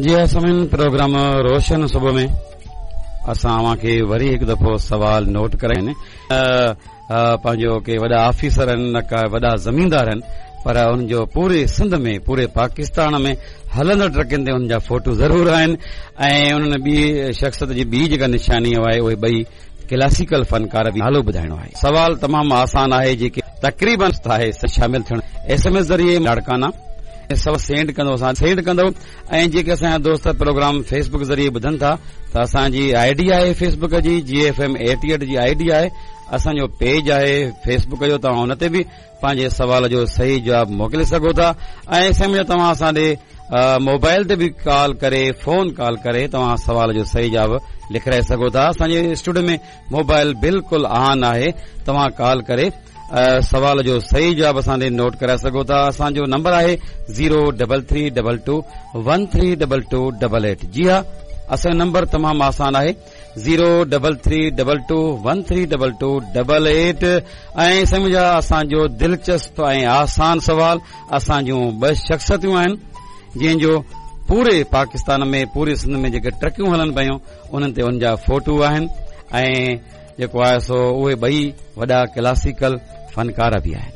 جي ها سامعين پروگرام روشن صبح ۾ اسان اوهان کي وري هڪ دفعو سوال نوٽ ڪرايا آهن پنهنجو ڪي وڏا آفيسر آهن نه ڪا وڏا زميندار آهن پر انهن جو پوري سنڌ ۾ پوري پاڪستان ۾ هلندڙ ٽرڪن تي انهن جا فوٽو ضرور آهن ۽ انهن ٻي شخصيت جي ٻي جيڪا نشاني آهي اهي ٻئي ڪلاسيڪل فنڪار به نالو ٻڌائڻو آهي. سوال تمام آسان آهي جيڪي تقريبن آهي شامل ٿيڻ ايس ايم ايس ذريعي لاڙڪانا سوال سينڊ ڪندو اسان سينڊ ڪندو ۽ جيڪي اسان جا دوست پروگرام فيس بڪ ذريعي ٻڌن ٿا ته اسان جي I D آهي فيس بڪ جي جي ايف ايم 88 جي I D آهي اسان جو پيج آهي فيس بڪ جو توهان ان تي به پنهنجي سوال جو صحيح جواب موڪلي سگهو ٿا ۽ سمجهو توهان اسان ڏي موبائل تي به ڪال ڪري فون ڪال ڪري توهان سوال جو صحيح جواب لکرائي سگهو ٿا اسان جي اسٽوڊيو ۾ موبائل بلڪل آن آهي توهان ڪال ڪري سوال جو صحيح جواب اسان ڏي نوٽ ڪرائي سگهو ٿا اسان جو نمبر آهي zero double three double two one three double two double eight جي ها اسان جو نمبر تمام آسان آهي zero double three double two one three double two double eight ۽ سمجھا اسان جو دلچسپ ۽ آسان سوال اسان جون ٻه شخصيتون آهن جنهن جو پوري پاڪستان ۾ پوري سنڌ ۾ جيڪي ٽرڪيون هلن پيون انهن تي ان جا فوٽو آهن ۽ جيڪو آهي سو اهي ٻئي وڏا ڪلاسيڪل فنڪار به آهن.